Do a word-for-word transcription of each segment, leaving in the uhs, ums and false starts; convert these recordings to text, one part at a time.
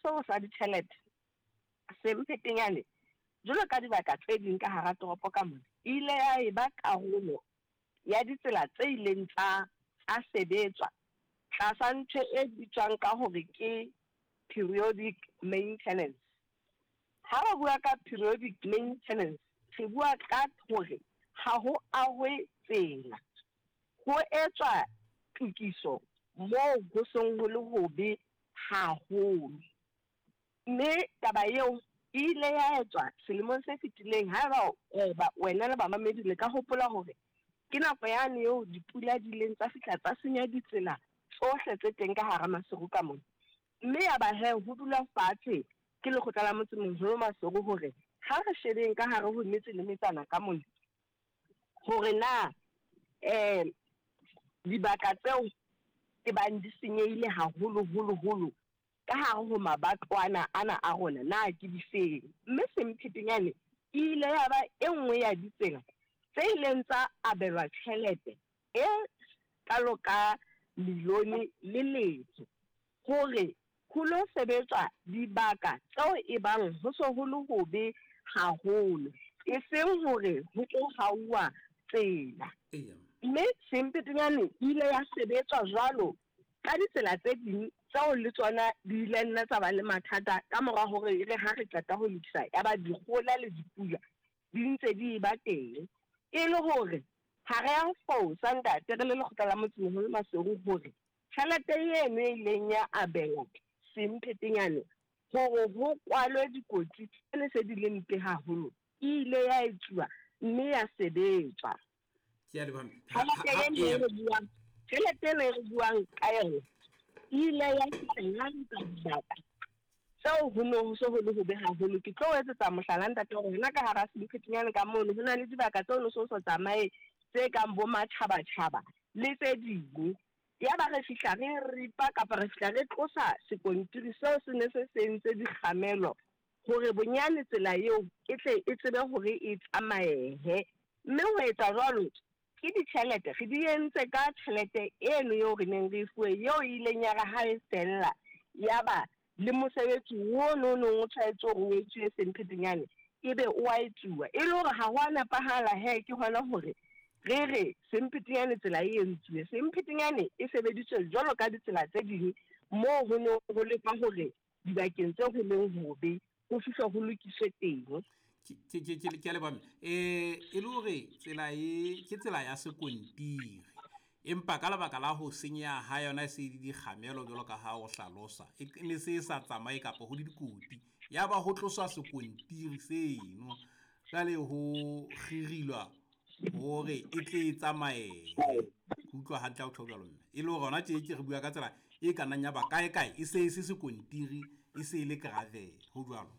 seo sa ditjhelete, Semphetenyane jwalo ka dibaka tse ding ka hara toropo ka mona, e ile ya eba karolo ya ditsela tse ileng tsa tsa sebetswa tlasa ntho e bitswang ka hore ke periodic maintenance. Ha re bua ka periodic maintenance, re bua ka hore ha ho ahwe tsela, ho etswa tokiso moo ho seng ho le hobe haholo. Mme taba eo e ile ya etswa selemong se fetileng. Haeba wena le bamamedi le ka hopola hore ke nako yane eo dipula di ileng tsa fihla tsa senya ditsela tsohle tse teng ka hara Maseru ka mona. Mme ya ba he ho dula fatshe ke lekgotla la motsemoholo Maseru hore ha re shebeng ka hare ho metse le metsana ka mona hore na um dibaka tseo e bang di senyehile haholo holo holo ka hare ho mabatwana ana a rona na ke difeng. Mme Semphetenyane e ile ya ba e nngwe ya ditsela tse ileng tsa abelwa tjhelete e kalo ka milione le letho hore ho lo sebetswa dibaka tseo e bang ho so ho le hobe haholo, e seng hore ho tlo hauwa tsela. Mme Semphetenyane e ile ya sebetswa jwalo ka ditsela tse ding tseo le tsona di ile nna tsa ba le mathata ka mora hore e re ha re qeta ho lokisa ya ba dikgola le dipula di ntse di ba teng. E le hore ha re a fosa ntate re le lekgotla la motsemoholo Maseru hore tjhelete eno e ileng ya abelwa Semphetenyane hore ho kwalwe dikotsi tsene se di le mpe haholo e ile ya etsuwa mme ya sebetswa. Tjhelete eno e re buang tjhelete eno e re buang ka yona e ile ya fihla dibaka tseo ho no ho so ho le hobe haholo. Ke tlo etsetsa mohlala ntate hore hona ka hara Semphetenyane ka mono ho na le dibaka tseo no so so tsamaye tse kang bo matjhabatjhaba le tse ding. Ya ba re fihla re ripa kapa re fihla re tlosa sekontiri seo se ne se sentse dikgamelo hore bonyane tsela eo e tle e tsebe hore e tsamayehe. Mme ho etsa jwalo ke ditjhelete re di entse ka tjhelete eno eo re neng re e fuwe, eo e ileng ya re ha e fella ya ba le mosebetsi ono o neng o tshwanetse hore o etsuwe Semphetenyane ebe o a etsuwa. E le hore ha ho a nepahala he, ke hona hore re re Semphetenyane tsela e entsuwe. Semphetenyane e sebeditswe jwalo ka ditsela tse ding moo ho ne ho lekwa hore dibakeng tse ho leng hobe ho fihlwa ho lokiswe teng. Ke ke ke ke a leboha mme. Eh e le hore tsela e ke tsela ya sekontiri, empa ka lebaka la ho senyeha ha yona e se le dikgamelo jwalo ka ha o hlalosa, e ne se e sa tsamaye kapa ho le dikoti, ya ba ho tloswa sekontiri seno, jwale ho kgirilwa hore e tle e tsamaye. Ke utlwa hantle ha o tjho jwalo mme. E le hore hona tje ke re bua ka tsela e ka nnang ya ba kae kae e se e se sekontiri, e se e le gravel, ho jwalo.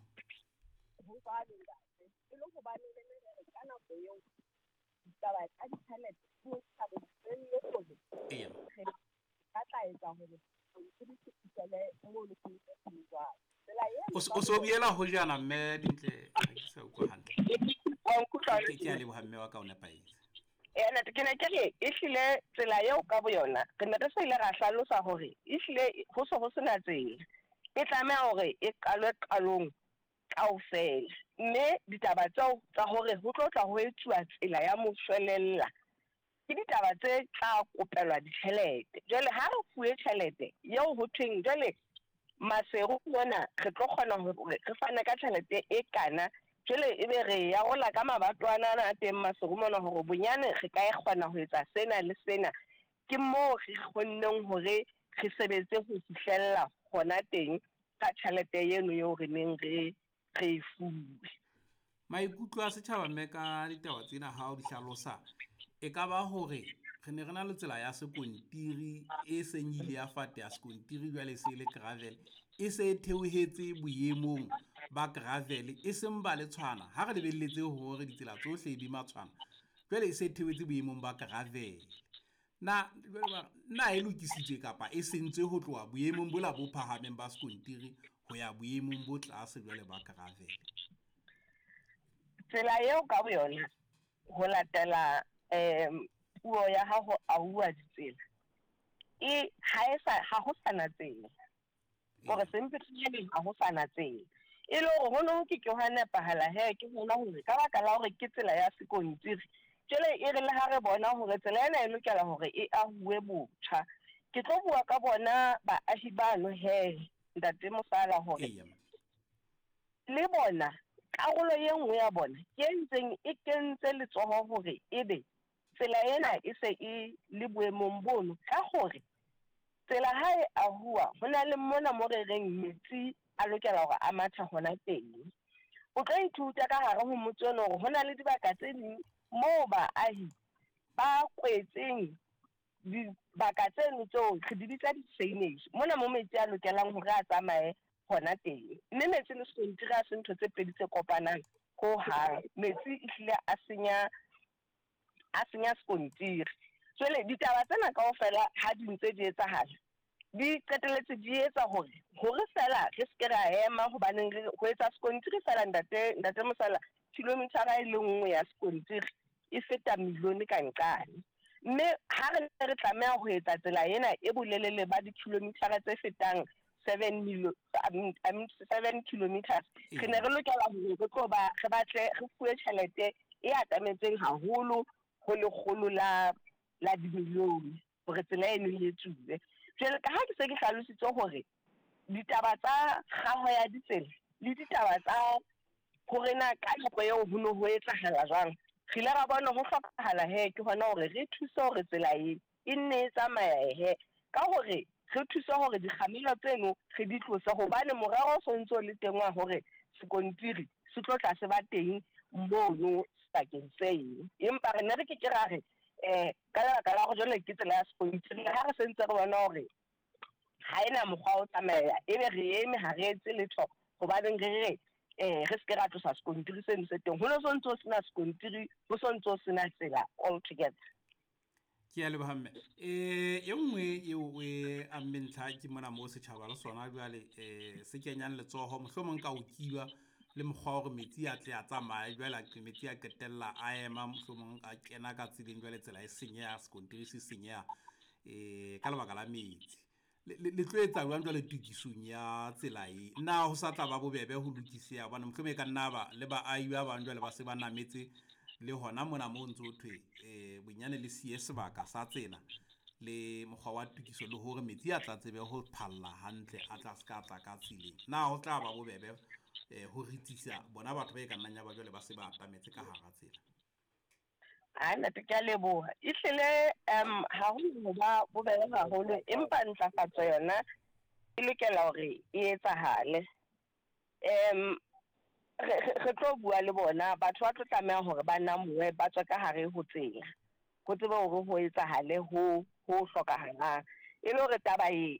Ho jwalo ntate, e le hobane re ne re re ka nako eo ditaba tsa ditjhelete di ne di sa re dumelle hore Eya. re ka tla etsa hore sekontiri se fihlele moo le se jwalo. Tsela eno O se o se o boela hojana mme Dintle, ha ke sa utlwa hantle. Wa nkutlwa Ke ke a leboha mme wa ka o nepahetse. Eh, ntate, ke ne ke re ehlile tsela eo ka boyona re ne re se ile ra hlalosa hore ehlile ho se ho sena tsela e tlameha hore e qalwe qalong kaofela. Mme ditaba tseo tsa hore ho tlo tla ho etsuwa tsela ya moshwelella ke ditaba tse tla kopelwa ditjhelete. Jwale ha re fuwe tjhelete eo ho thweng jwale Maseru mona re tlo kgona hore re fane ka tjhelete e kana, jwale ebe re ya rola ka mabatwana ana a teng Maseru mona hore bonyane re ka e kgona ho etsa sena le sena. Ke moo re kgonneng hore re sebetse ho fihlella hona teng ka tjhelete eno eo re neng re re e fuwe. Maikutlo a setjhaba mme ka ditaba tsena ha o di hlalosa, e ka ba hore re ne re na le tsela ya sekontiri e seng ile ya fate ya sekontiri, jwale e se e le gravel, e se e theohetse boemong ba gravel, e seng ba le tshwana. Ha re lebelletse hore ditsela tsohle di matshwana, jwale e se e theohetse boemong ba gravel. Na jwale ba na e lokisitswe kapa e sentswe ho tloha boemong bola bo phahameng ba sekontiri ho ya boemong bo tlase jwale ba gravel? Tsela eo ka boyona ho latela um puo ya ha ho ahuwa ditsela e ha e sa ha ho sana tsela. Hore Semphetenyaneng ha ho sa na tsela. E le hore ho ne ho ke ke hwa nepahala he ke bona hore ka baka la hore ke tsela ya sekontiri, jwale e re le ha re bona hore tsela ena e lokela hore e ahuwe botjha. Ke tlo bua ka bona baahi bano he, Ntate Mosala, hore Eya. le bona karolo e nngwe ya bona ke e ntseng e kentse letsoho hore ebe tsela ena e se e le boemong bono, ka hore tsela ha e ahuwa ho na le mona mo re reng metsi a lokela hore a mathe hona teng. O tlo ithuta ka hare ho motse ono hore ho na le dibaka tse ding moo baahi ba kwetseng dibaka tseno tseo re di bitsa di-drainage, mona mo metsi a lokelang hore a tsamaye hona teng. Mme metsi le sekontiri ha se ntho tse pedi tse kopanang hohang. Metsi ehlile a senya, a senya sekontiri. Jwale ditaba tsena kaofela ha di ntse di etsahala, di qetelletse di etsa hore hore feela re se ke ra ema, hobaneng re ho etsa sekontiri feela, ntate ntate Mosala, kilometer-a e le nngwe ya sekontiri e feta milione ka nqane. Mme ha re ne re tlameha ho etsa tsela ena e bolelele ba di-kilometer-a tse fetang seven million, I mean, I mean seven kilometers, re ne re lokela hore re tlo ba re batle re fuwe tjhelete e atametseng haholo ho lekgolo la la dimilione hore tsela eno e etsuwe. Jwale ka ha ke se ke hlalositse hore ditaba tsa kgaho ya ditsela le ditaba tsa hore na ka nako eo ho ne ho etsahala jwang, re ile ra bona ho hlokahala he ke hona hore re thuse hore tsela e e nne e tsamaye he, ka hore re thuse hore dikgamelo tseno re di tlose, hobane morero o sontso le teng wa hore sekontiri se tlo tla se ba teng mono sebakeng seo. Empa re ne re ke ke ra re eh ka lebaka la hore jwale ke tsela ya sekontiri, ha re sentse re bona hore ha ena mokgwa o tsamaya, ebe re eme ha re etse letho, hobaneng re re eh re se ke ra tlosa sekontiri seno se teng. Ho no sontso ho sena sekontiri, ho sontso ho sena tsela altogether. Ke a leboha mme. Eh, e nngwe eo o e ammeng ntlha ke mona moo setjhaba le sona jwale, eh, se kenyang letsoho, mohlomong ka ho kiba le mokgwa wa hore metsi a tle a tsamaye, jwale a metsi a qetella a ema, mohlomong a kena ka tseleng, jwale tsela e senyeha, sekontiri se senyeha, eh, ka lebaka la metsi. Le, le, le tlo etsa jwang jwale tokisong ya tsela e? Na ho sa tla ba bobebe ho lokiseha? Hobane mohlomong e ka nna ba le baahi ba bang jwale ba se ba nametse le hona mona moo ntso ho thwe, eh, bonyane le siye sebaka sa tsela le mokgwa wa tokiso, le hore metsi a tla tsebe ho phalla hantle, a tla se ka tla ka tseleng. Na ho tla ba bobebe, eh, ho ritsisa bona batho ba e ka nnang ya ba jwale ba se ba atametse ka hara tsela? Ai, ntate, ke a leboha. Ehlile, um, ha ho no ba bobebe haholo, empa ntlafatso yona e lokela hore e etsahale. Um, re, re, re tlo bua le bona, batho ba tlo tlameha hore ba namohe, ba tswe ka hare ho tsela, ho tsebe hore ho etsahale ho, ho hlokahalang. E le hore taba e,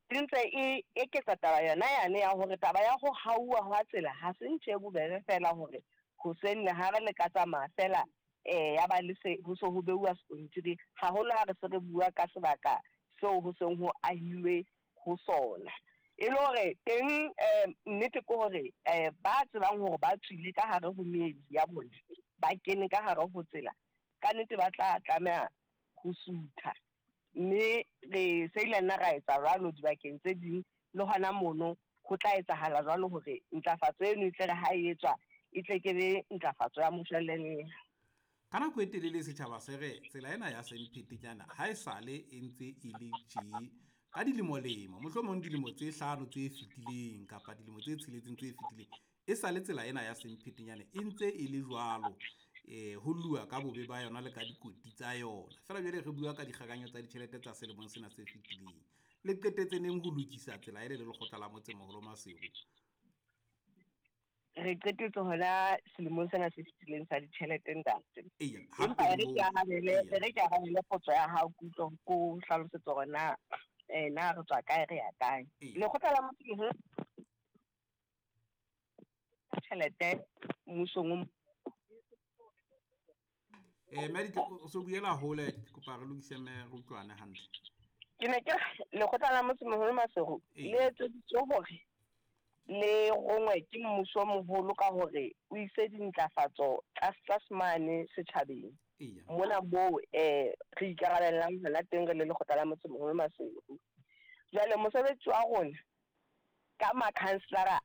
e ntse e eketsa taba yona yane ya hore taba ya ho hauwa hwa tsela ha se ntho e bobebe feela hore hoseng le ha re le ka tsamaya feela, eh, ya ba le se, ho se ho beuwa sekontiri, haholo ha re se re bua ka sebaka seo ho seng ho ahilwe ho sona. E le hore teng, eh, nnete ke hore, eh, ba tsebang hore ba tswile ka hare ho meedi ya bona, ba kene ka hare ho tsela, ka nnete ba tla tlameha ho sutha. Mme re se ile nna ra etsa jwalo dibakeng tse ding, le hona mono ho tla etsahala jwalo hore ntlafatso eno e tle re ha e etswa, e tle ke be ntlafatso ya moshwelella. Ka nako e telele setjhaba se re tsela ena ya Semphetenyana ha e sale e ntse e le tje ka dilemo-lemo, mohlomong dilemo tse hlano tse fetileng kapa dilemo tse tsheletseng tse fetileng, e sale tsela ena ya Semphetenyana e ntse e le jwalo, eh, ho lua ka bobe ba yona le ka dikoti tsa yona. Feela jwale re bua ka dikgakanyo tsa ditjhelete tsa selemong sena se fetileng. Le qetetse neng ho lokisa tsela ele le lekgotla la motsemoholo Maseru? Re qetetse hona selemong sena se fetileng sa ditjhelete, ntate. Eya, Empa hape e re moo. ke arabele, Eya. e re ke arabele potso ya hao, ke utlwe ko hlalosetse hore na, eh, na re tswa kae, re ya kae. Eya. Lekgotla la motsemoholo tjhelete mmusong o Eh, mme Ditle, o so buela hole, ke kopa re lokise mme re utlwane hantle. Ke ne ke re, lekgotla la motsemoholo Maseru Ee. le etseditswe hore le rongwe ke mmuso moholo ka hore o ise dintlafatso tlase tlase mane setjhabeng. Eya. Mona moo, eh, re ikarabellang hona teng re le lekgotla la motsemoholo Maseru. Jwale mosebetsi wa rona Ka makhanselara